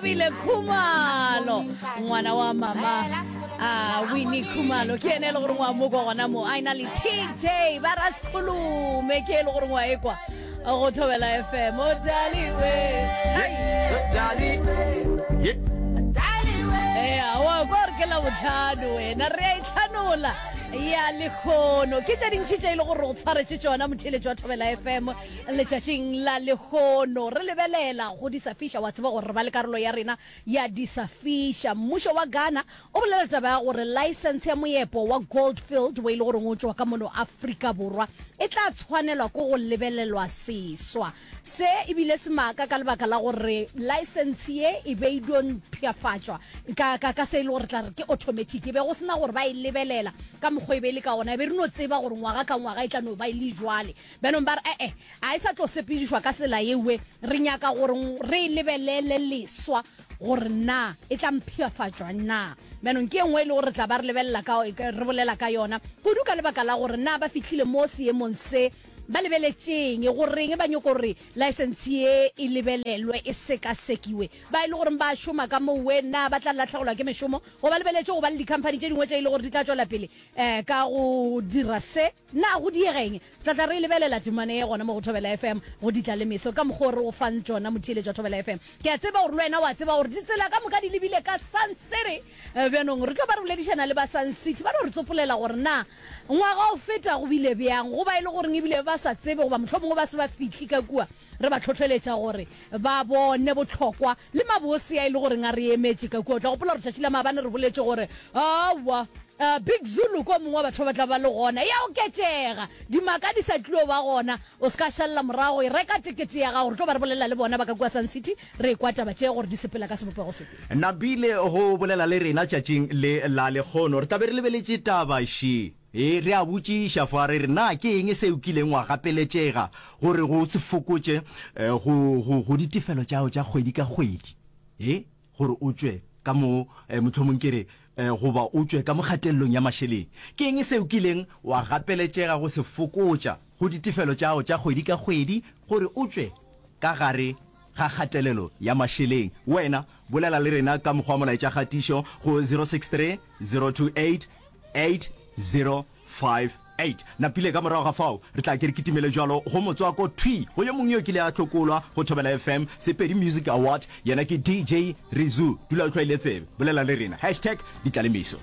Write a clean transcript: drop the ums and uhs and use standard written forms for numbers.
Thabile Khumalo, ngwana wa mama a Winnie Khumalo ke ene e le gore ngwa mo kwa gona mo a ena le TJ ba ra sekhulume ke e le gore ngwa ekwa go Thobela FM o daliwe. Ai. Ye. Ea, wa kwa gore ke la botlhano wena re a itlhanola ya lekgono ke tše dintšhi tše e le gore go tshwaretše tšona motheeletši wa Thobela FM Letšatšing la lehono re lebelela go di sa fiša. Wa tseba gore re ba le karolo ya rena ya di sa fiša. Mmušo wa Ghana o bolela taba ya gore laesense ya moepo wa Gold Field wo e le goreng o tšwa ka mono Afrika Borwa e tla tshwanelwa ke go lebelelwa seswa. Se e bile semaka ka lebaka la gore laesense ye e be e dio mpshafatšwa ka, ka, ka se e le gore tla re ke automatic. E be go se na gore ba e lebelela ka mokgwa e be e le ka gona. E be re no tseba gore ngwaga ka ngwaga e tla no ba e le jwale. Bjanong ba re, E-e, a e sa tlo sepedišwa ka tsela yewe. Re nyaka gore re e lebelele leswa gore na e tla mpshafatšwa na. Bjanong ke ye nngwe e le gore re tla ba re lebelela ka, re bolela ka yona kudu ka lebaka la gore na ba fihlile mo seemong se ba lebeletšeng, goreng ba nyoko gore laesense ye e lebelelwe, e sekasekiwe. Ba e le goreng ba šoma ka mowe, na ba tla lahlegelwa ke mešomo? Goba lebeletše go ba le dikhamphani tše dingwe tše e le gore di tla tšwela pele um ka go dira se? Na go diega eng? Re tla tla re e lebelela temana ye gona mo go Thobela FM, go ditla le meso, ka mokgwa o re go fang tšona, motheeletši wa Thobela FM. Ke a tseba gore le wena wa tseba gore ditsela ka moka di lebile ka Sun City. Bjanong re tlo ba re boledišana le ba Sun City, ba no re tsopolela gore na ngwaga o feta go bile bjang, go ba e le goreng ebile ba sa tsebe goba mohlomongwe ba se ba fihli ka kua. Re ba hlohleletša gore ba bone bohlokwa le mabose a e le goreng a re emetše ka kua. O tla gopola gore tšatši la maabane re boletše gore aowa, Big Zulu ke o mongwe wa batho ba ba tla ba le gona. E a oketšega, dimaka di sa tlilo ba gona. O se ka šalela morago, e reka tekete ya gago. Re tlo ba re bolela le bona ba ka kua Sun City, re ekwa taba tše gore di sepela ka sebopego sefe. Napile go bolela le rena tšatšing le la lekgono. Re tla be re lebeletše taba še. Ee, re a botšiša fa re re, na ke eng se o kileng wa gapeletšega gore go se fokotše go, go, go ditefelo tša gago tša kgwedi ka kgwedi? Ee, gore o tšwe ka mo, mohlomong ke re, goba o tšwe ka mo kgatelelong ya mašeleng. Ke eng se o kileng wa gapeletšega go se fokotša go ditefelo tša gago tša kgwedi ka kgwedi gore o tšwe ka gare ga kgatelelo ya mašeleng? Wena, bolela le rena ka mokgwa wa molaetšakgatišo go 063 028 8058. Napile ka morago ga fao re tla ke re kitimele bjalo go motswako thwi go yo mongwe yo kile a hlokolwa go Thobela FM Sepedi Music Award, yena ke DJ Rizu. Dula o hlwaile tsebe, bolela le rena. Hashtag Ditlalemeso.